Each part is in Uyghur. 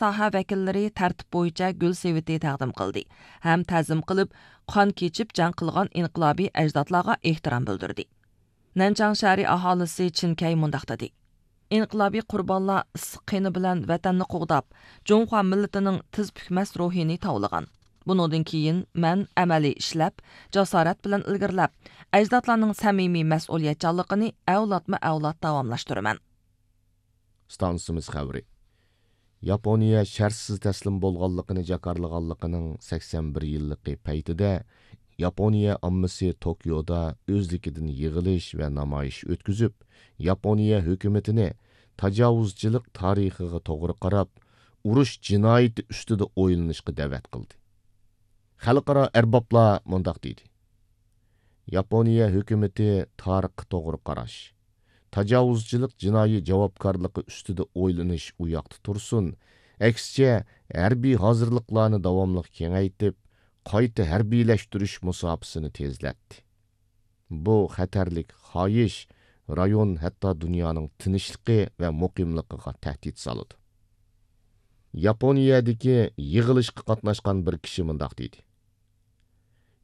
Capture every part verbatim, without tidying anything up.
ساھە ۋەكىللىرى تەرتىپ بويىچە گۈل سېۋىتى تەقدىم قىلدى ھەم تەزىم قىلىپ، قان كېچىپ جەڭ قىلغان ئىنقىلابىي ئەجدادلارغا ئېھتىرام بىلدۈردى. نەنچاڭ شەھىرى ئاھالىسى چىن كەي مۇنداق دېدى: ئىنقىلابىي قۇربانلار ئىسسىق قېنى بىلەن ۋەتەننى قوغداپ، جۇڭخۇا مىللىتىنىڭ تىز پۈكمەس روھىنى تاۋلىغان. بۇنىڭدىن كېيىن مەن ئەمەلىي ئىشلەپ، جاسارەت بىلەن ئىلگىرىلەپ، ئەجدادلارنىڭ سەمىمىي مەسئۇلىيەتچانلىقىنى ئەۋلادمۇ ئەۋلاد داۋاملاشتۇرىمەن. ئىستانسىمىز خەۋىرى. ياپونىيە شەرتسىز تەسلىم بولغانلىقىنى جاكارلىغانلىقىنىڭ سەكسەن بىر يىللىقى پەيتىدە، ياپونىيە ئاممىسى توكيودا ئۆزلۈكىدىن يىغىلىش ۋە نامايىش ئۆتكۈزۈپ، ياپونىيە ھۆكۈمىتىنى تاجاۋۇزچىلىق تارىخىغا توغرا قاراپ، ئۇرۇش جىنايىتى ئۈستىدە ئويلىنىشقا دەۋەت قىلدى. خەلقئارا ئەربابلار مۇنداق دېدى: ياپونىيە ھۆكۈمىتى تارىخقا توغرا قاراش، تاجاۋۇزچىلىق جىنايى جاۋابكارلىقى ئۈستىدە ئويلىنىش ئۇ ياقتا تۇرسۇن، ئەكسىچە، ھەربىي ھازىرلىقلارنى داۋاملىق كېڭەيتىپ، قايتا ھەربىيلەشتۈرۈش مۇساپىسىنى تېزلەتتى. بۇ خەتەرلىك خاھىش رايون، ھەتتا دۇنيانىڭ تىنچلىقى ۋە مۇقىملىقىغا تەھدىت سالىدۇ. ياپونىيەدىكى يىغىلىشقا قاتناشقان بىر كىشى مۇنداق دېدى: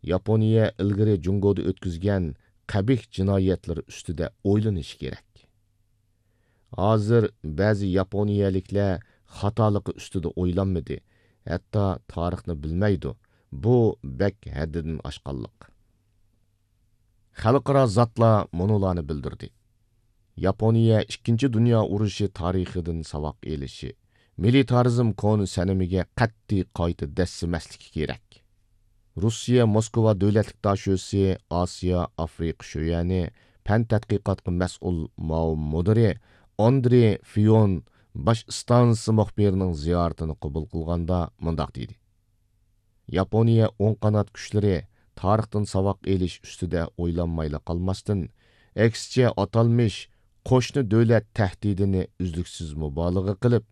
ياپونىيە ئىلگىرى جۇڭگودا ئۆتكۈزگەن قەبىھ جىنايەتلىرى ئۈستىدە ئويلىنىشى كېرەك. ھازىر بەزى ياپونىيەلىكلەر خاتالىقى ئۈستىدە ئويلانمىدى، ھەتتا تارىخنى بىلمەيدۇ. بۇ بەك ھەددىدىن ئاشقانلىق. خەلقئارا زاتلار مۇنۇلارنى بىلدۈردى: ياپونىيە ئىككىنچى دۇنيا ئۇرۇشى تارىخىدىن ساۋاق ئېلىشى، مىلىتارىزم كونا سەنىمىگە قەتئىي قايتا دەسسىمەسلىكى كېرەك. روسىيە موسكۋا دۆلەتلىك داشۆسى ئاسىيا ئافرىقا شۆيەنى پەن تەتقىقاتقا مەسئۇل ماۋۇ مۇدىرى ئاندرې فىيون باش ئىستانسا مۇخبىرىنىڭ زىيارىتىنى قوبۇل قىلغاندا مۇنداق دېدى: ياپونىيە ئوڭ قانات كۈچلىرى تارىختىن ساۋاق ئېلىش ئۈستىدە ئويلانمايلا قالماستىن، ئەكسىچە ئاتالمىش قوشنا دۆلەت تەھدىتىنى ئۈزلۈكسىز مۇبالىغە قىلىپ،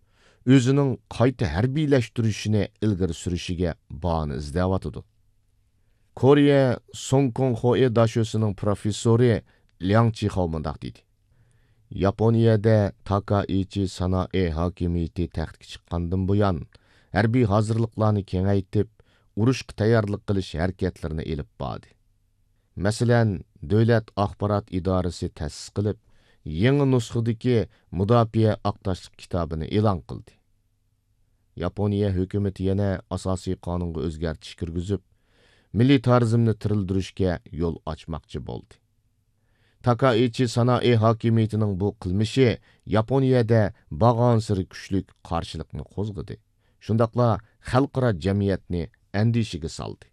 ئۆزىنىڭ قايتا ھەربىيلەشتۈرۈشىنى ئىلگىرى سۈرۈشىگە باھانە ئىزدەۋاتىدۇ. كورېيە سۇڭكۇڭخوئې داشۆسىنىڭ پروفېسسورى لياڭ چىخاۋ مۇنداق دېدى: ياپونىيەدە تاكائىچى سانائې ھاكىمىيىتى تەختكە چىققاندىن بۇيان، ھەربىي ھازىرلىقلارنى كېڭەيتىپ، ئۇرۇشقا تەييارلىق قىلىش ھەرىكەتلىرىنى ئېلىپ باردى. مەسىلەن، دۆلەت ئاخبارات ئىدارىسى تەسىس قىلىپ، يېڭى نۇسخىدىكى مۇداپىئە ئاق تاشلىق كىتابىنى ئېلان قىلدى. ياپونىيە ھۆكۈمىتى يەنە ئاساسىي قانۇنغا ئۆزگەرتىش كىرگۈزۈپ، مىلىتارىزمنى تىرىلدۈرۈشكە يول ئاچماقچى بولدى. تاكائىچى سانائې ھاكىمىيىتىنىڭ بۇ قىلمىشى ياپونىيەدە بارغانسېرى كۈچلۈك قارشىلىقنى قوزغىدى، شۇنداقلا خەلقئارا جەمئىيەتنى ئەندىشىگە سالدى.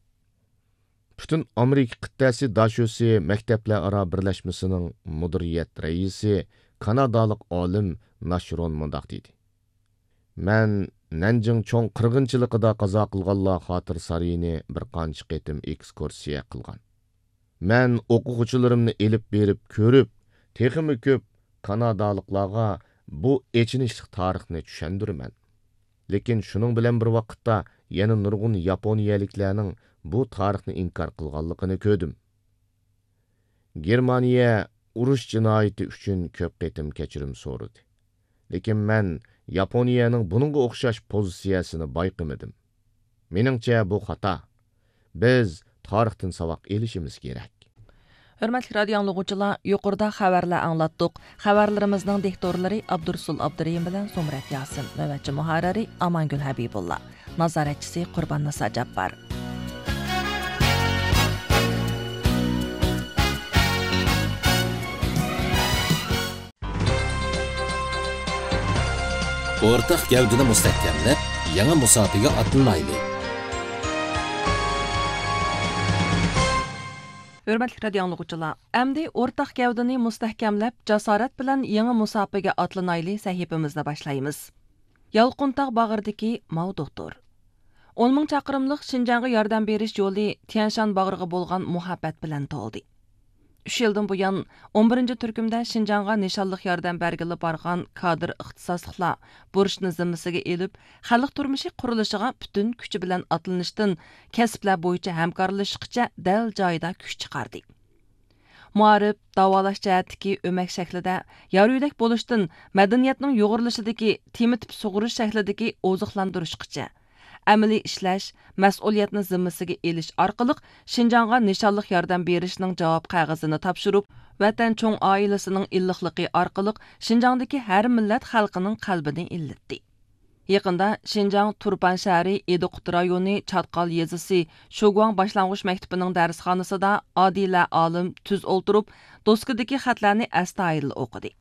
پۈتۈن ئامېرىكا قىتئەسى داشۆسى مەكتەپلەر ئارا بىرلەشمىسىنىڭ مۇدىرىيەت رەئىسى، كانادالىق ئالىم ناشرون مۇنداق دېدى: مەن نەنجىڭ چوڭ قىرغىنچىلىقىدا قازا قىلغانلار خاتىرە سارىيىنى بىر قانچە قېتىم ئېكسكۇرسىيە قىلغان. مەن ئوقۇغۇچىلىرىمنى ئېلىپ بېرىپ كۆرۈپ، تېخىمۇ كۆپ كانادالىقلارغا بۇ ئېچىنىشلىق تارىخنى چۈشەندۈرىمەن. لېكىن شۇنىڭ بىلەن بىر ۋاقىتتا يەنە نۇرغۇن ياپونىيەلىكلەرنىڭ بۇ تارىخنى ئىنكار قىلغانلىقىنى كۆردۈم. گېرمانىيە ئۇرۇش جىنايىتى ئۈچۈن كۆپ قېتىم كەچۈرۈم سورىدى. لېكىن مەن ياپونىيەنىڭ بۇنىڭغا ئوخشاش پوزىتسىيەسىنى بايقىمىدىم. مېنىڭچە، بۇ خاتا. بىز تارىختىن ساۋاق ئېلىشىمىز كېرەك. ھۆرمەتلىك رادىئو ئاڭلىغۇچىلار، يۇقىرىدا خەۋەرلەر ئاڭلاتتۇق. خەۋەرلىرىمىزنىڭ دىكتورلىرى ئابدۇرۇسۇل ئابدۇرېھىم بىلەن زۇمرەت ياسىن. نۆۋەتچى مۇھەررىرى ئامانگۈل ھەبىبۇللا. نازارەتچىسى قۇرباننىسا جاپپار. ئورتاق گەۋدىنى مۇستەھكەملەپ، يېڭى مۇساپىگە ئاتلىنايلى! ھۆرمەتلىك رادىئو ئاڭلىغۇچىلار، ئەمدى ئورتاق گەۋدىنى مۇستەھكەملەپ، جاسارەت بىلەن يېڭى مۇساپىگە ئاتلىنايلى سەھىپىمىزنى باشلايمىز. يالقۇنتاغ باغرىدىكى ماۋۇ دوختۇر. ئون مىڭ چاقىرىملىق شىنجاڭغا ياردەم بېرىش يولى تيەنشان باغرىغا بولغان مۇھەببەت بىلەن تولدى. ئۈچ يىلدىن بۇيان، ئون بىرىنچى تۈركۈمدە شىنجاڭغا نىشانلىق ياردەم بەرگىلى بارغان كادىر ئىختىساسلىقلار بۇرچنى زىممىسىگە ئېلىپ، خەلق تۇرمۇشى قۇرۇلۇشىغا پۈتۈن كۈچى بىلەن ئاتلىنىشتىن، كەسىپلەر بويىچە ھەمكارلىشىشقىچە دەل جايىدا كۈچ چىقاردى. مائارىپ، داۋالاش جەھەتتىكى ئۆمەك شەكلىدە يارۇيدەك بولۇشتىن مەدەنىيەتنىڭ يۇغۇرۇلۇشىدىكى تېما تىپ سۇغۇرۇش شەكلىدىكى ئوزۇقلاندۇرۇشقىچە، ئەمەلىي ئىشلەش، مەسئۇلىيەتنى زىممىسىگە ئېلىش ئارقىلىق شىنجاڭغا نىشانلىق ياردەم بېرىشنىڭ جاۋاب قەغىزىنى تاپشۇرۇپ، ۋەتەن چوڭ ئائىلىسىنىڭ ئىللىقلىقى ئارقىلىق شىنجاڭدىكى ھەر مىللەت خەلقىنىڭ قەلبىنى ئىللىتتى. يېقىندا شىنجاڭ تۇرپان شەھىرى ئىدىقۇت رايونى چاتقال يېزىسى شۇگۇاڭ باشلانغۇچ مەكتىپىنىڭ دەرسخانىسىدا ئادىلە ئالىم تۈز ئولتۇرۇپ، دوسكىدىكى خەتلەرنى ئەستايىدىل ئوقۇدى.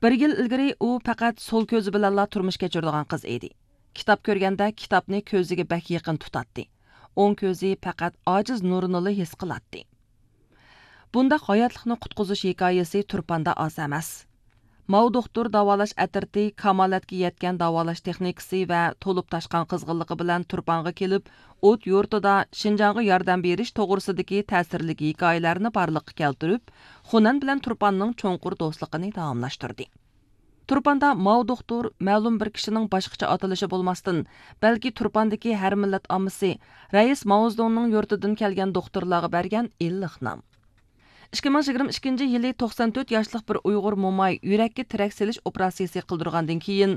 بىر يىل ئىلگىرى ئۇ پەقەت سول كۆزى بىلەنلا تۇرمۇش كەچۈرىدىغان قىز ئىدى. كىتاب كۆرگەندە كىتابنى كۆزىگە بەك يېقىن تۇتاتتى. ئوڭ كۆزى پەقەت ئاجىز نۇرىنىلا ھېس قىلاتتى. بۇنداق ھاياتلىقنى قۇتقۇزۇش ھېكايىسى تۇرپاندا ئاز ئەمەس. ماۋ دوختۇر داۋالاش ئەترىتى كامالەتكە يەتكەن داۋالاش تېخنىكىسى ۋە تولۇپ تاشقان قىزغىنلىقى بىلەن تۇرپانغا كېلىپ، ئوت يۇرتىدا شىنجاڭغا ياردەم بېرىش توغرىسىدىكى تەسىرلىك ھېكايىلەرنى بارلىققا كەلتۈرۈپ، خۇنەن بىلەن تۇرپاننىڭ چوڭقۇر دوستلۇقىنى داۋاملاشتۇردى. تۇرپاندا ماۋ دوختۇر مەلۇم بىر كىشىنىڭ باشقىچە ئاتىلىشى بولماستىن، بەلكى تۇرپاندىكى ھەر مىللەت ئاممىسى رەئىس ماۋزېدۇڭنىڭ يۇرتىدىن كەلگەن دوختۇرلارغا بەرگەن ئىللىق نام. ئىككى مىڭ يىگىرمە ئىككىنچى يىلى توقسان تۆت ياشلىق بىر ئۇيغۇر موماي يۈرەككە تىرەك سېلىش ئوپېراتسىيىسى قىلدۇرغاندىن كېيىن،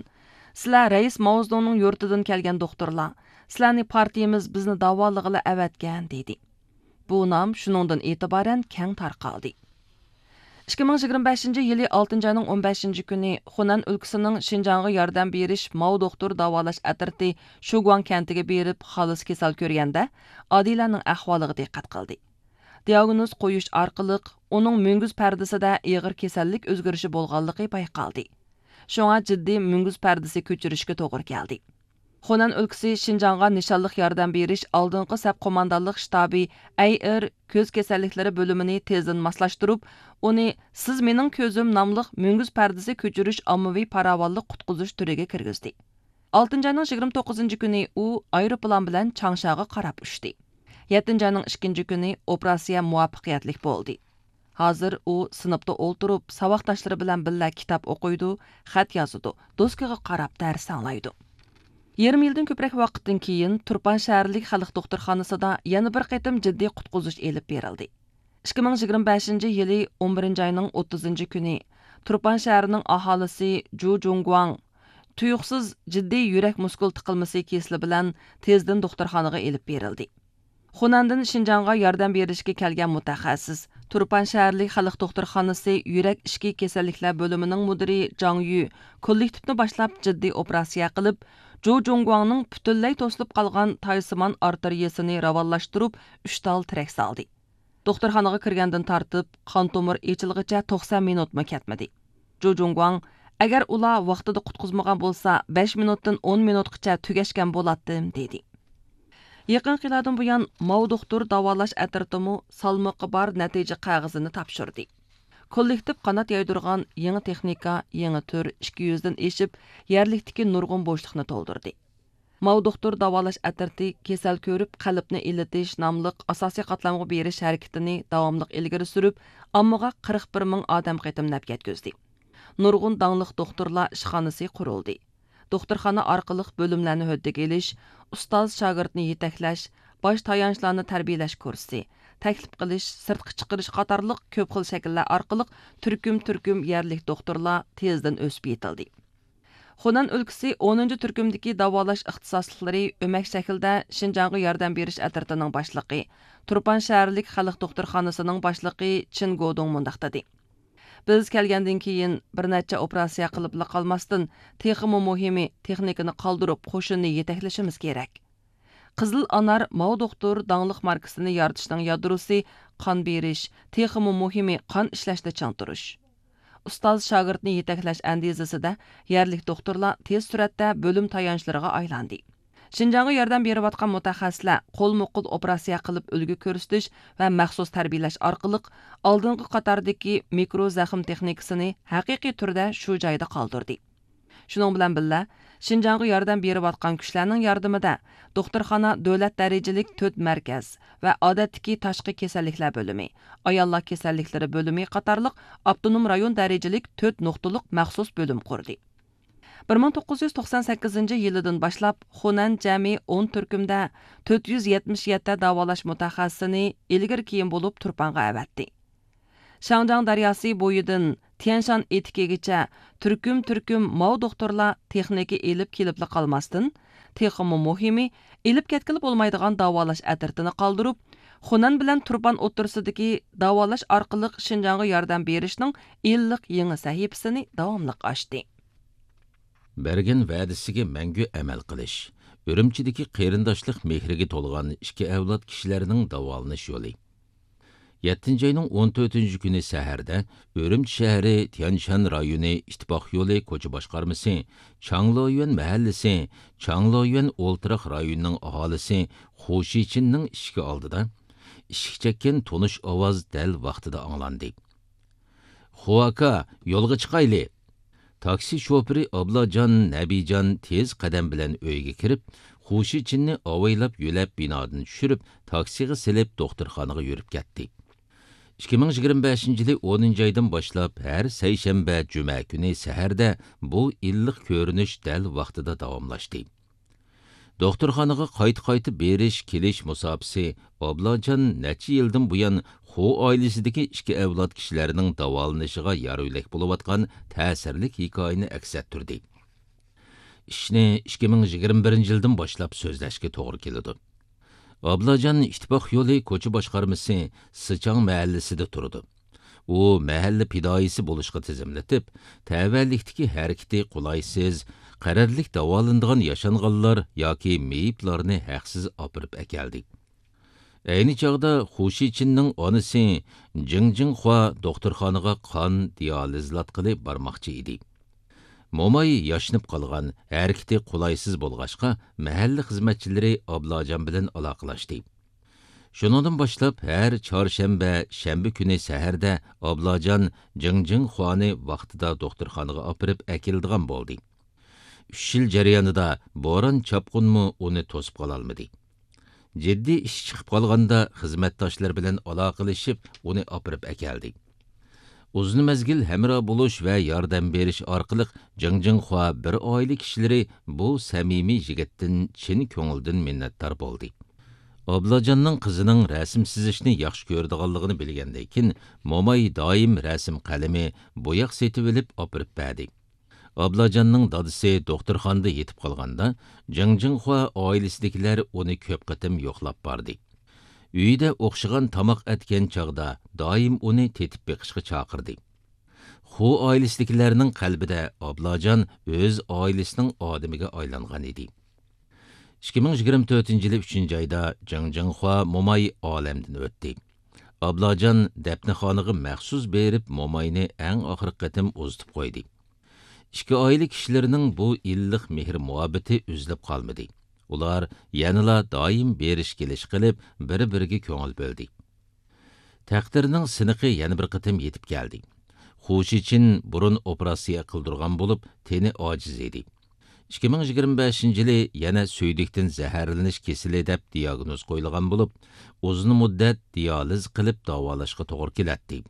سىلەر رەئىس ماۋزېدۇڭنىڭ يۇرتىدىن كەلگەن دوختۇرلار، سىلەرنى پارتىيىمىز بىزنى داۋالىغىلى ئەۋەتكەن، دېدى. بۇ نام شۇنىڭدىن ئېتىبارەن كەڭ تارقالدى. ئىككى مىڭ يىگىرمە بەشىنچى يىلى ئالتىنچى ئاينىڭ ئون بەشىنچى كۈنى خۇنەن ئۆلكىسىنىڭ شىنجاڭغا ياردەم بېرىش ماۋ دوختۇر داۋالاش ئەترىتى شۇگۇاڭ كەنتىگە بېرىپ، خالىس كېسەل كۆرگەندە، ئادىلەنىڭ ئەھۋالىغا دىققەت قىلدى. دىئاگنوز قويۇش ئارقىلىق ئۇنىڭ مۈڭگۈز پەردىسىدە ئېغىر كېسەللىك ئۆزگىرىشى بولغانلىقى بايقالدى. شۇڭا جىددىي مۈڭگۈز پەردىسى كۆچۈرۈشكە توغرا كەلدى. خۇنەن ئۆلكىسى شىنجاڭغا نىشانلىق ياردەم بېرىش ئالدىنقى سەپ قوماندانلىق شتابى ئەي ئېر كۆز كېسەللىكلىرى بۆلۈمىنى تېزدىن ماسلاشتۇرۇپ، ئۇنى سىز مېنىڭ كۆزۈم ناملىق مۈڭگۈز پەردىسى كۆچۈرۈش ئاممىۋى پاراۋانلىق قۇتقۇزۇش تۈرىگە كىرگۈزدى. ئالتىنچى ئاينىڭ يىگىرمە توققۇزىنچى كۈنى ئۇ ئايروپىلان بىلەن چاڭشاغا قاراپ ئۇچتى. يەتتىنچى ئاينىڭ ئىككىنچى كۈنى ئوپېراتسىيە مۇۋەپپەقىيەتلىك بولدى. ھازىر ئۇ سىنىپتا ئولتۇرۇپ، ساۋاقداشلىرى بىلەن بىللە كىتاب ئوقۇيدۇ، خەت يازىدۇ، دوسكىغا قاراپ دەرس ئاڭلايدۇ. يېرىم يىلدىن كۆپرەك ۋاقىتتىن كېيىن، تۇرپان شەھەرلىك خەلق دوختۇرخانىسىدا يەنە بىر قېتىم جىددىي قۇتقۇزۇش ئېلىپ بېرىلدى. ئىككى مىڭ يىگىرمە بەشىنچى يىلى ئون بىرىنچى ئاينىڭ ئوتتۇزىنچى كۈنى تۇرپان شەھىرىنىڭ ئاھالىسى جۇ جۇڭگۇاڭ تۇيۇقسىز جىددىي يۈرەك مۇسكۇل تىقىلمىسى كېسىلى بىلەن تېزدىن دوختۇرخانىغا ئېلىپ بېرىلدى. خۇنەندىن شىنجاڭغا ياردەم بېرىشكە كەلگەن مۇتەخەسسىس، تۇرپان شەھەرلىك خەلق دوختۇرخانىسى يۈرەك ئىچكى كېسەللىكلەر بۆلۈمىنىڭ مۇدىرى جاڭ يۈ كوللېكتىپنى باشلاپ جىددىي ئوپېراتسىيە قىلىپ، جۇ جۇڭگۇاڭنىڭ پۈتۈنلەي توسۇلۇپ قالغان تايسىمان ئارتېرىيىسىنى راۋانلاشتۇرۇپ، ئۈچ تال تىرەك سالدى. دوختۇرخانىغا كىرگەندىن تارتىپ، قان تومۇر ئېچىلغىچە توقسان مىنۇتمۇ كەتمىدى. جۇ جۇڭگۇاڭ، ئەگەر ئۇلار ۋاقتىدا قۇتقۇزمىغان بولسا، بەش مىنۇتتىن ئون مىنۇتقىچە تۈگەشكەن بولاتتىم، دېدى. يېقىنقى يىللاردىن بۇيان، ماۋ دوختۇر داۋالاش ئەترىتىمۇ سالمىقى بار نەتىجە قەغىزىنى تاپشۇردى. كوللېكتىپ قانات يايدۇرغان يېڭى تېخنىكا، يېڭى تۈر، ئىككى يۈزدىن ئېشىپ، يەرلىكتىكى نۇرغۇن بوشلۇقنى تولدۇردى. ماۋ دوختۇر داۋالاش ئەترىتى كېسەل كۆرۈپ قەلبنى ئىللىتىش ناملىق ئاساسىي قاتلامغا بېرىش ھەرىكىتىنى داۋاملىق ئىلگىرى سۈرۈپ، ئاممىغا قىرىق بىر مىڭ ئادەم قېتىم نەپ يەتكۈزدى. نۇرغۇن داڭلىق دوختۇرلار ئىشخانىسى قۇرۇلدى. دوختۇرخانا ئارقىلىق بۆلۈملەرنى ھۆددىگە ئېلىش، ئۇستاز شاگىرتنى يېتەكلەش، باش تايانچلارنى تەربىيەلەش كۇرسى، تەكلىپ قىلىش، سىرتقا چىقىرىش قاتارلىق كۆپ خىل شەكىللەر ئارقىلىق تۈركۈم تۈركۈم يەرلىك دوختۇرلار تېزدىن ئۆسۈپ يېتىلدى. خۇنەن ئۆلكىسى ئونىنچى تۈركۈمدىكى داۋالاش ئىختىساسلىقلىرى ئۆمەك شەكىلدە شىنجاڭغا ياردەم بېرىش ئەترىتىنىڭ باشلىقى، تۇرپان شەھەرلىك خەلق دوختۇرخانىسىنىڭ باشلىقى چىن گودۇڭ مۇنداق دېدى: بىز كەلگەندىن كېيىن بىر نەچچە ئوپېراتسىيە قىلىپلا قالماستىن، تېخىمۇ مۇھىمى، تېخنىكىنى قالدۇرۇپ، قوشۇننى يېتەكلىشىمىز كېرەك. قىزىل ئانار ماۋ دوختۇر داڭلىق ماركىسىنى يارىتىشنىڭ يادروسى قان بېرىش، تېخىمۇ مۇھىمى، قان ئىشلەشنى چىڭ تۇرۇش. ئۇستاز شاگىرتنى يېتەكلەش ئەندىزىسىدە يەرلىك دوختۇرلار تېز سۈرئەتتە بۆلۈم تايانچلىرىغا ئايلاندى. شىنجاڭغا ياردەم بېرىۋاتقان مۇتەخەسسىسلەر قولمۇ قول ئوپېراتسىيە قىلىپ ئۈلگە كۆرسىتىش ۋە مەخسۇس تەربىيەلەش ئارقىلىق ئالدىنقى قاتاردىكى مىكرو زەخىم تېخنىكىسىنى ھەقىقىي تۈردە شۇ جايدا قالدۇردى. شۇنىڭ بىلەن بىللە، شىنجاڭغا ياردەم بېرىۋاتقان كۈچلەرنىڭ ياردىمىدە دوختۇرخانا دۆلەت دەرىجىلىك تۆت مەركەز ۋە ئادەتتىكى تاشقى كېسەللىكلەر بۆلۈمى، ئاياللار كېسەللىكلىرى بۆلۈمى قاتارلىق ئاپتونوم رايون دەرىجىلىك تۆت نۇقتىلىق مەخسۇس بۆلۈم قۇردى. بىر مىڭ توققۇز يۈز توقسان سەككىزىنچى يىلىدىن باشلاپ، خۇنەن جەمئىي ئون تۈركۈمدە تۆت يۈز يەتمىش يەتتە داۋالاش مۇتەخەسسىسىنى ئىلگىرى كېيىن بولۇپ تۇرپانغا ئەۋەتتى. شاڭجياڭ دەرياسى بويىدىن تيەنشان ئېتىكىگىچە تۈركۈم-تۈركۈم ماۋ دوختۇرلار تېخنىكا ئېلىپ كېلىپلا قالماستىن، تېخىمۇ مۇھىمى، ئېلىپ كەتكىلى بولمايدىغان داۋالاش ئەترىتىنى قالدۇرۇپ، خۇنەن بىلەن تۇرپان ئوتتۇرىسىدىكى داۋالاش ئارقىلىق شىنجاڭغا ياردەم بېرىشنىڭ ئىللىق يېڭى سەھىپىسىنى داۋاملىق ئاچتى. بەرگەن ۋەدىسىگە مەڭگۈ ئەمەل قىلىش. ئۈرۈمچىدىكى قېرىنداشلىق مېھرىگە تولغان ئىككى ئەۋلاد كىشىلەرنىڭ داۋالىنىش يولى. يەتتىنچى ئاينىڭ ئون تۆتىنچى كۈنى سەھەردە ئۈرۈمچى شەھىرى تيەنشان رايونى ئىتتىپاق يولى كوچا باشقارمىسى، چاڭلويۈەن مەھەللىسى، چاڭلويۈەن ئولتۇراق رايونىنىڭ ئاھالىسى خۇ شىچىننىڭ ئىشىكى ئالدىدا ئىشىك چەككەن تونۇش ئاۋاز دەل ۋاقتىدا ئاڭلاندى. خۇ ئاكا، يولغا چىقايلى! تاكسى شوپۇرى ئابلاجان نەبىجان تېز قەدەم بىلەن ئۆيگە كىرىپ، خۇ شىچىننى ئاۋايلاپ يۆلەپ بىنادىن چۈشۈرۈپ، تاكسىغا سېلىپ دوختۇرخانىغا يۈرۈپ كەتتى. ئىككى مىڭ يىگىرمە بەشىنچى يىلى ئونىنچى ئايدىن باشلاپ ھەر سەيشەنبە، جۈمە كۈنى سەھەردە بۇ ئىللىق كۆرۈنۈش دەل ۋاقتىدا داۋاملاشتى. دوختۇرخانىغا قايتا-قايتا بېرىش-كېلىش مۇساپىسى ئابلاجان نەچچە يىلدىن بۇيان خۇ ئائىلىسىدىكى ئىككى ئەۋلاد كىشىلەرنىڭ داۋالىنىشىغا يار-يۆلەك بولۇۋاتقان تەسىرلىك ھېكايىنى ئەكس ئەتتۈردى. ئىشنى ئىككى مىڭ يىگىرمە بىرىنچى يىلدىن باشلاپ سۆزلەشكە توغرا كېلىدۇ. ئابلاجان ئىتتىپاق يولى كوچا باشقارمىسى سىچاڭ مەھەللىسىدە تۇرىدۇ. ئۇ مەھەللە پىدائىيسى بولۇشقا تىزىملىتىپ، تەۋەلىكتىكى ھەرىكىتى قولايسىز، قەرەللىك داۋالىنىدىغان ياشانغانلار ياكى مېيىپلارنى ھەقسىز ئاپىرىپ ئەكەلدى. ئەينى چاغدا خۇ شىچىننىڭ ئانىسى جىڭ جىڭخۇا دوختۇرخانىغا قان دىئالىزلاتقىلى بارماقچى ئىدى. موماي ياشىنىپ قالغان، ھەرىكىتى قولايسىز بولغاچقا، مەھەللە خىزمەتچىلىرى ئابلاجان بىلەن ئالاقىلاشتى. شۇنىڭدىن باشلاپ ھەر چارشەنبە، شەنبە كۈنى سەھەردە ئابلاجان جىڭ جىڭخۇانى ۋاقتىدا دوختۇرخانىغا ئاپىرىپ ئەكېلىدىغان بولدى. ئۈچ يىل جەريانىدا بوران-چاپقۇنمۇ ئۇنى توسۇپ قالالمىدى. جىددىي ئىش چىقىپ قالغاندا خىزمەتداشلىرى بىلەن ئالاقىلىشىپ ئۇنى ئاپىرىپ ئەكەلدى. ئۇزۇن مەزگىل ھەمراھ بولۇش ۋە ياردەم بېرىش ئارقىلىق جىڭ جىڭخۇا بىر ئائىلە كىشىلىرى بۇ سەمىمىي يىگىتتىن چىن كۆڭۈلدىن مىننەتدار بولدى. ئابلاجاننىڭ قىزىنىڭ رەسىم سىزىشنى ياخشى كۆرىدىغانلىقىنى بىلگەندىن كېيىن، موماي دائىم رەسىم قەلىمى، بوياق سېتىۋېلىپ ئاپىرىپ بەردى. ئابلاجاننىڭ دادىسى دوختۇرخانىدا يېتىپ قالغاندا، جىڭ جىڭخۇا ئائىلىسىدىكىلەر ئۇنى كۆپ قېتىم يوقلاپ باردى. ئۆيىدە ئوخشىغان تاماق ئەتكەن چاغدا دائىم ئۇنى تېتىپ بېقىشقا چاقىردى. خۇ ئائىلىسىدىكىلەرنىڭ قەلبىدە ئابلاجان ئۆز ئائىلىسىنىڭ ئادىمىگە ئايلانغان ئىدى. ئىككى مىڭ يىگىرمە تۆتىنچى يىلى ئۈچىنچى ئايدا جىڭ جىڭخۇا موماي ئالەمدىن ئۆتتى. ئابلاجان دەپنىخانىغا مەخسۇس بېرىپ موماينى ئەڭ ئاخىرقى قېتىم ئۇزىتىپ قويدى. ئىككى ئائىلە كىشىلىرىنىڭ بۇ ئىللىق مېھىر-مۇھەببىتى ئۈزۈلۈپ قالمىدى. ئۇلار يەنىلا دائىم بېرىش-كېلىش قىلىپ، بىر-بىرىگە كۆڭۈل بۆلدى. تەقدىرنىڭ سىنىقى يەنە بىر قېتىم يېتىپ كەلدى. خۇ شىچىن بۇرۇن ئوپېراتسىيە قىلدۇرغان بولۇپ، تېنى ئاجىز ئىدى. ئىككى مىڭ يىگىرمە بەشىنچى يىلى يەنە سۈيدۈكتىن زەھەرلىنىش كېسىلى دەپ دىياگنوز قويۇلغان بولۇپ، ئۇزۇن مۇددەت دىيالىز قىلىپ داۋالاشقا توغرا كېلەتتى.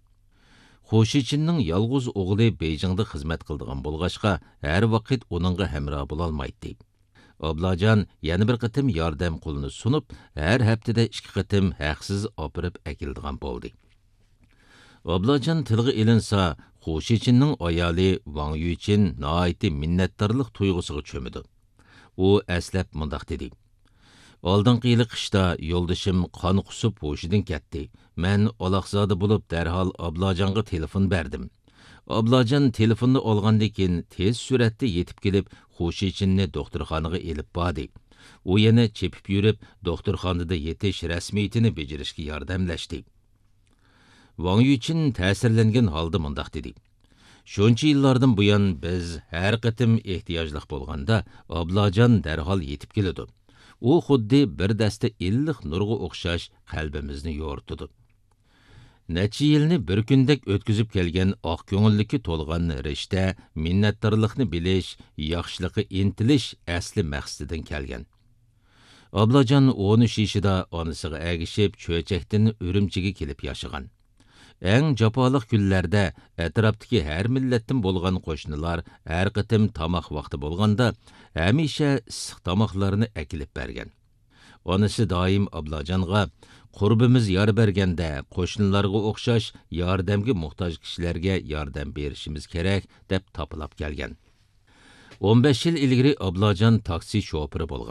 خۇ شىچىننىڭ يالغۇز ئوغلى بېيجىڭدا خىزمەت قىلىدىغان بولغاچقا، ھەر ۋاقىت ئۇنىڭغا ھەمراھ بولالمايتتى. ئابلاجان يەنە بىر قېتىم ياردەم قولىنى سۇنۇپ، ھەر ھەپتىدە ئىككى قېتىم ھەقسىز ئاپىرىپ ئەكېلىدىغان بولدى. ئابلاجان تىلغا ئېلىنسا، خۇ شىچىننىڭ ئايالى ۋاڭ يۈچىن ناھايىتى مىننەتدارلىق تۇيغۇسىغا چۆمىدۇ. ئۇ ئەسلەپ مۇنداق دېدى: «ئالدىنقى يىلى قىشتا يولدىشىم قان قۇسۇپ ھوشىدىن كەتتى. مەن ئالاقزادە بولۇپ، دەرھال ئابلاجانغا تېلېفون بەردىم. ئابلاجان تېلېفوننى ئالغاندىن كېيىن، تېز سۈرئەتتە يېتىپ كېلىپ، خۇ شىچىننى دوختۇرخانىغا ئېلىپ باردى. ئۇ يەنە چېپىپ يۈرۈپ، دوختۇرخانىدا يېتىش رەسمىيىتىنى بېجىرىشكە ياردەملەشتى.» ۋاڭ يۈچىن تەسىرلەنگەن ھالدا مۇنداق دېدى: «شۇنچە يىللاردىن بۇيان، بىز ھەر قېتىم ئېھتىياجلىق بولغاندا، ئابلاجان دەرھال يېتىپ كېلىدۇ. ئۇ خۇددى بىر دەستە ئىللىق نۇرغا ئوخشاش قەلبىمىزنى يورۇتىدۇ.» نەچچە يىلنى بىر كۈندەك ئۆتكۈزۈپ كەلگەن ئاق كۆڭۈللۈككە تولغان رىشتە، مىننەتدارلىقنى بىلىش، ياخشىلىققا ئىنتىلىش ئەسلى مەقسىتىدىن كەلگەن. ئابلاجان ئون ئۈچ يېشىدا ئانىسىغا ئەگىشىپ، چۆچەكتىن ئۈرۈمچىگە كېلىپ ياشىغان. ئەڭ جاپالىق كۈنلەردە ئەتراپتىكى ھەر مىللەتتىن بولغان قوشنىلار ھەر قېتىم تاماق ۋاقتى بولغاندا، ھەمىشە ئىسسىق تاماقلارنى ئەكېلىپ بەرگەن. ئانىسى دائىم ئابلاجانغا، «قۇربىمىز يار بەرگەندە، قوشنىلارغا ئوخشاش ياردەمگە موھتاج كىشىلەرگە ياردەم بېرىشىمىز كېرەك» دەپ تاپىلاپ كەلگەن. ئون بەش يىل ئىلگىرى ئابلاجان تاكسى شوپۇرى بولغان.